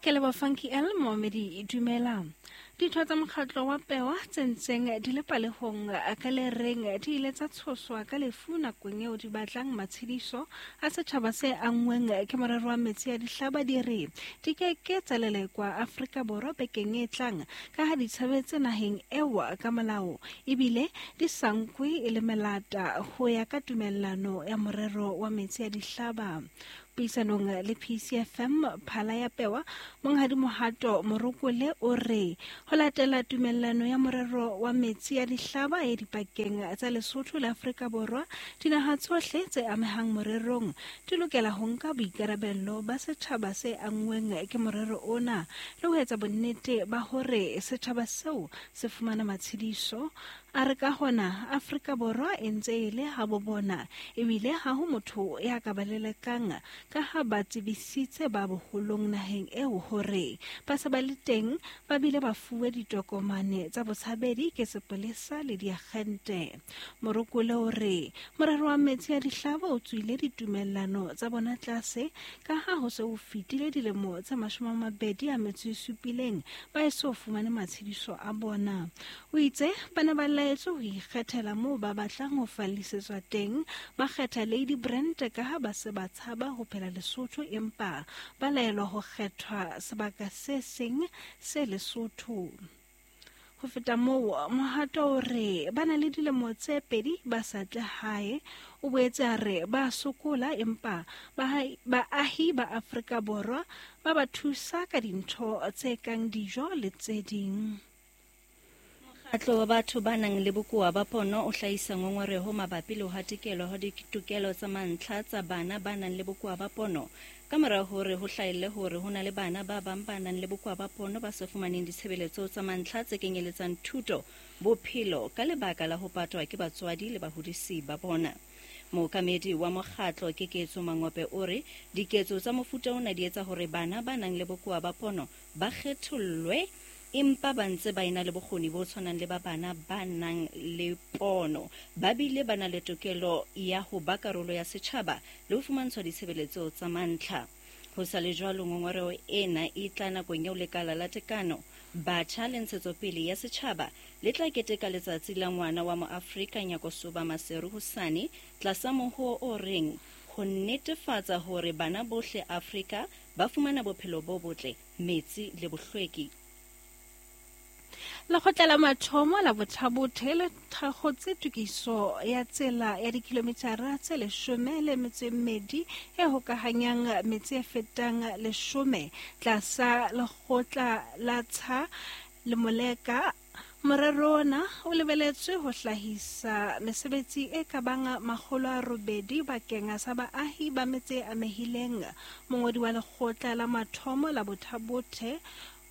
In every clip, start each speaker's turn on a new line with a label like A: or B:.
A: Ke leboha Funky L momamedi dumela. Ditho tsa mokgatlo wa Pewa tse ntseng di le palehong ka le reng di ile tsa tshoswa ka lefu nakong eo di batlang matshediso a setjhaba se anngweng ke morero wa metsi a dihlaba di re di ke ke tsa lelekwa Afrika Borwa bekeng e tlang ka ha di tshabetse naheng eo ka molao ebile di sa nkwe e le melata ho ya ka tumellano ya morero wa metsi a dihlaba. Puisanong le PCFM Phala ya Pewa, Monghadi Mohato Morokole o re ho latela tumellano ya morero wa metsi ya dihlaba e dipakeng tsa Lesotho le Afrika Borwa, dinaha tsohle tse amehang morerong di lokela ho nka boikarabello ba setjhaba se anngweng ke morero ona le ho etsa bonnete ba hore setjhaba seo se fumana matshediso. A re ka hona Afrika Borwa e ntse e le habo bona ebile ha ho motho ya ka ba lelekang ka ha ba tsebisitse ba boholong naheng eo hore ba se ba le teng ba bile ba fuwe ditokomane tsa botshabedi ke sepolesa le diagente. Morokole o re morero wa metsi a dihlaba o tswile ditumellano tsa bona tlase ka ha ho se ho fetile dilemo tse 27 ba eso fumane matshediso a bona. O itse ba ne ba laetswe ho ikgethela moo ba batlang ho fallisetswa teng, ba kgetha Lady Brent ka ha ba se ba tshaba ho phela Lesotho empa ba laelwa ho kgethwa sebaka se seng se Lesotho. Ho feta moo, Mohato o re ba na le dilemo tse pedi ba sa tle hae. O boetse a re ba sokola empa baahi ba Afrika Borwa ba ba thusa ka dintho tse kang dijo le tse ding.
B: Mokgatlo wa batho ba nang le bokowa ba pono o hlahisa ngongoreho mabapi le ho hatikelwa hwa ditokelo tsa mantlha tsa bana ba nang le bokowa ba pono ka mora hore ho hlahelle hore ho na le bana ba bang ba nang le bokowa ba pono ba sa fumaneng ditshebeletso tsa mantlha tse kenyeletsang thuto, bophelo ka lebaka la ho patwa ke batswadi le bahodisi ba bona. Mookamedi wa mokgatlo Keketso Mangope o re diketso tsa mofuta ona di etsa hore bana ba nang le bokowa ba pono ba kgethollwe empa ba ntse ba ena le bokgoni bo tshwanang le ba bana ba nang le pono. Ba bile ba na le tokelo ya ho ba karolo ya setjhaba le ho fumantshwa ditshebeletso tsa mantlha. Ho sa le jwalo, ngongoreho ena e tla nakong eo Lekala la Tekano, Batjha le Ntshetsopele ya Setjhaba le tla keteka Letsatsi la Ngwana wa Moafrika Nyakosoba Maseru hosane tlasa mohoo o reng Ho netefatsa hore bana bohle Afrika ba fumana bophelo bo botle, metsi le bohlweki.
A: Lekgotla la mathomo la Bothabothe le thakgotse tokiso ya tsela ya dikilomitara tse 12 e hokahanyang metse e fetang 10 tlasa lekgotla la Tsha le Moleka. Morero ona o lebeletswe ho hlahisa mesebetsi e ka bang 800 bakeng sa baahi ba metse e amehileng. Mongodi wa lekgotla la mathomo la Bothabothe,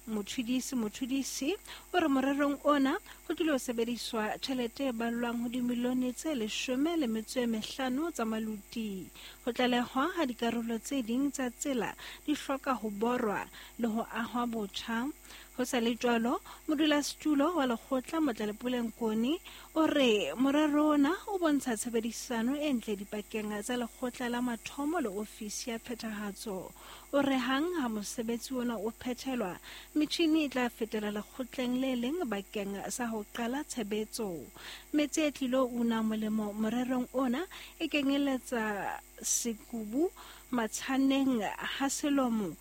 A: Mothudisi Mothudisi, o re morerong ona ho tlilo sebediswa tjhelete e ballwang ho dimilione tse 15 tsa maluti. Ho tlalehwa ha dikarolo tse ding tsa tsela di hloka ho borwa le ho ahwa botjha. Ho sa le jwalo, modulasetulo wa lekgotla Motlalepule Nkone o re morero ona o bontsha tshebedisano e ntle dipakeng tsa lekgotla la mathomo le ofisi ya phethahatso. O re hang ha mosebetsi ona o phethelwa, metjhini e tla fetela lekgotleng le leng bakeng sa ho qala tshebetso. Metse e tlilo una molemo morerong ona e kenyeletsa Sekubu, Matshaneng, Ha Selomo,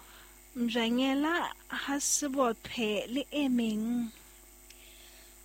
A: Mjanyela, Ha Sebophe le e meng.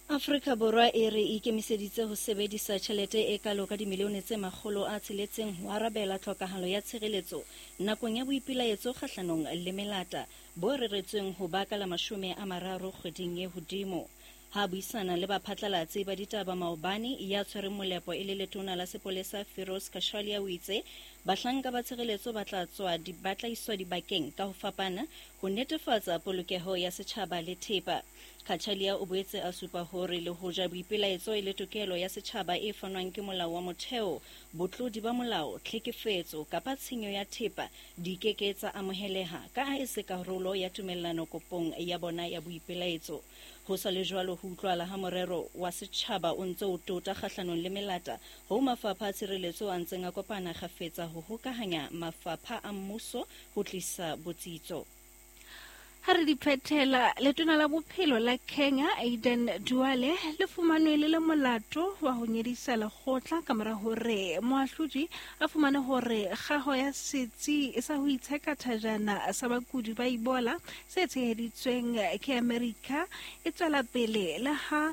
B: Afrika Borwa e re e ikemiseditse ho sebedisa tjhelete e kalo ka dimilione tse 600 ho arabela tlhokahalo ya tshireletso nakong ya boipilaetso kgahlanong le melata bo reretsweng ho ba ka la 30 kgweding e hodimo. Ha a buisana le baphatlalatsi ba ditaba maobane, ya tshwereng molepo e le letona la sepolesa Firoz Cachalia o itse bahlanka ba tshireletso ba tla tswa ba tla iswa dibakeng ka ho fapana ho netefatsa polokeho ya setjhaba le thepa. Cachalia o boetse a supa hore le hoja boipelaetso e le tokelo ya setjhaba e fanwang ke molao wa motheo, botlodi ba molao, tlhekefetso kapa tshenyo ya thepa di ke ke tsa amoheleha ka ha e se karolo ya tumellano kopong ya bona ya boipelaetso. Ho sa le jwalo, ho utlwahala ha morero wa setjhaba o ntse o tota kgahlanong le melata hoo mafapha a tshireletso a ntseng a kopana kgafetsa ho hokahanya mafapha a mmuso ho tlisa botsitso.
A: Ha re di phethela, letona la bophelo la Kenya Aden Duale le fumanwe le le molato wa ho nyedisa lekgotla ka mora hore moahlodi a fumane hore kgaho ya setsi sa ho itsheka thajana sa bakudi ba Ebola se tsheheditsweng ke Amerika e tswela pele le ha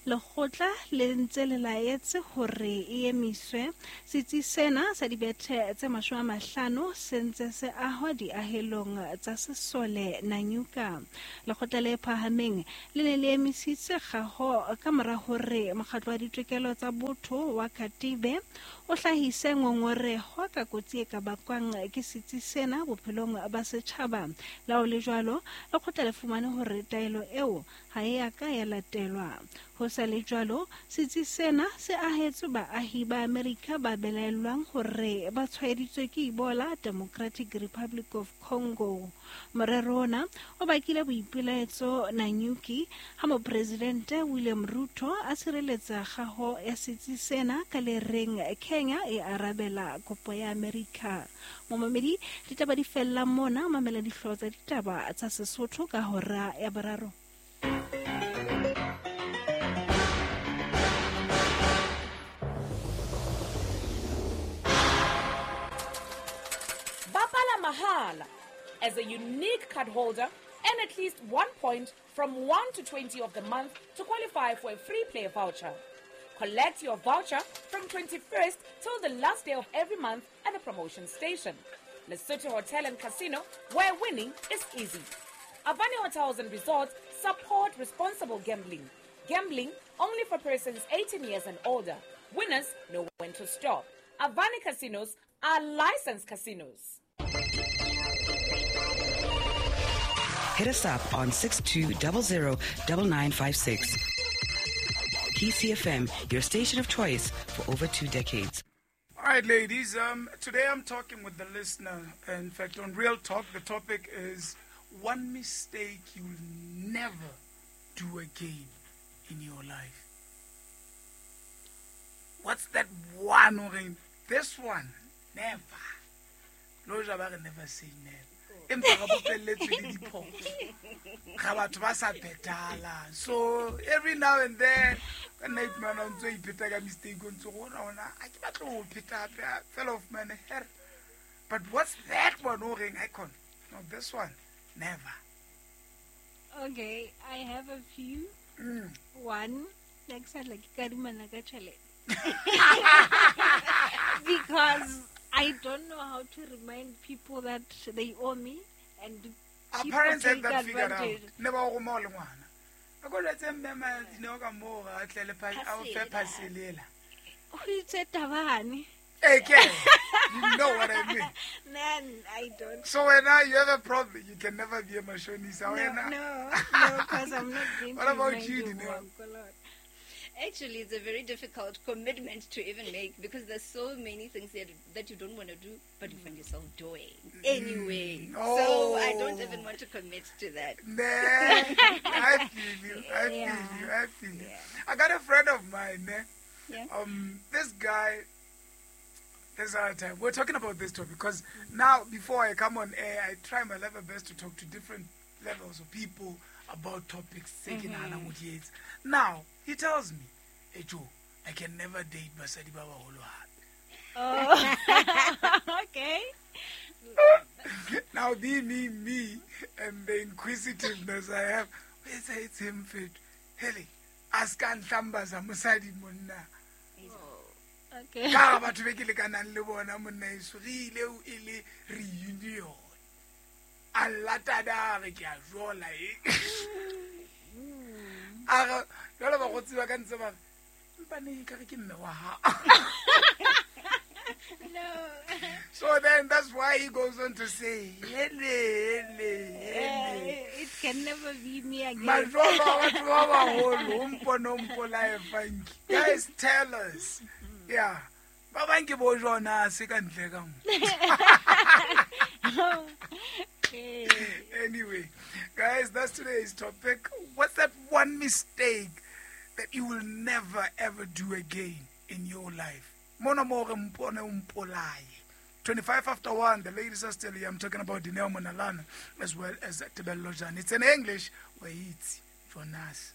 A: lekgotla le ntse le laetse hore e emiswe. Setsi sena sa dibethe tse 50 se ntse se ahwa diahelong tsa sesole Nanyuka. Lekgotla le phahameng le ne le emisitse kgaho ka mora hore mokgatlo wa ditokelo tsa botho wa Katibe o hlahise ngongoreho ka kotsi e ka bakwang ke setsi sena bophelong ba setjhaba. Le ha ho le jwalo, lekgotla le fumane hore taelo eo ha e a ka ya latelwa. Ho sa le jwalo, setsi sena se ahetswe baahi ba Amerika ba belaellwang hore ba tshwaeditswe ke Ebola Democratic Republic of Congo. Morero ona o bakile boipelaetso Nanyuki ha mopresidente William Ruto a sireletsa kgaho ya setsi sena ka le reng Kenya e arabela kopo ya Amerika. Momamedi, ditaba di fella mona, mamela dihlooho tsa ditaba tsa Sesotho ka hora ya 3.
C: Bapala mahala. As a unique card holder, earn at least 1 point from 1 to 20 of the month to qualify for a free play voucher. Collect your voucher from 21st till the last day of every month at the promotion station. Lesotho Hotel and Casino, where winning is easy. Avani Hotels and Resorts support responsible gambling. Gambling only for persons 18 years and older. Winners know when to stop. Avani Casinos are licensed casinos.
D: Hit us up on 6200 9956. PCFM, your station of choice for over 2 decades.
E: All right, ladies, today I'm talking with the listener. In fact, on Real Talk, the topic is one mistake you'll never do again in your life. What's that one? This one, never. Loja ba re never say never. Empa ga bopelletswe le diphoso. Ga batho ba sa phethahalang. So every now and then, ka nna iphumana o ntso ipheta ka mistake o ntso go ona a ke batlo ho pheta hape, fellow of man here. But what's that one o reng icon? No, this one, never.
A: Okay, I have a few. One, next time like kadimana ka tjhelete. Because I don't know how to remind people that they owe me, and
E: our parents had that figured out. Never go mo le ngwana. A go letse mme ma dineo ka mo ga tle le a fe phaselela.
A: O itse tabane.
E: Okay, you know what I mean.
A: Man, I don't.
E: So when now you have a problem, you can never be a mashonisa.
A: No, because I'm not going
E: to. What about you, Dineo?
B: Actually, it's a very difficult commitment to even make, because there's so many things that you don't want to do, but you find yourself doing anyway.
E: Oh.
B: So I don't even want to commit to that.
E: Nah, I feel you. I feel you. Yeah. I got a friend of mine. Eh?
B: Yeah.
E: This guy. This other time we're talking about this topic because now before I come on air, I try my level best to talk to different levels of people about topics. Now he tells me, "Hey Joe, I can never date basadi ba baholo hape."
A: Oh, okay.
E: Now be me, and the inquisitiveness I have. It's him fit. Hele, ask nhlamba mosadi monna.
A: Okay.
E: Ka batho be ke lekanang le bona monna eso re ile o ile reunion. A lata re ke a jola e. A re jalo ba go tsiba ka ntse ba mpa ne ka re ke mme wa ha.
A: No.
E: So then that's why he goes on to say, hele, hele, hele.
A: It can never be me again.
E: Guys, tell us. Yeah. Ba bang ke bo jona se ka ntle ka mo. Anyway, guys, that's today's topic. What's that one mistake that you will never ever do again in your life? Mona mo re mpone o mpolaye. 25 after 1, the ladies are still here. I'm talking about Dineo Monalana as well as Tebello Jane. It's in English. Wait, Jonas.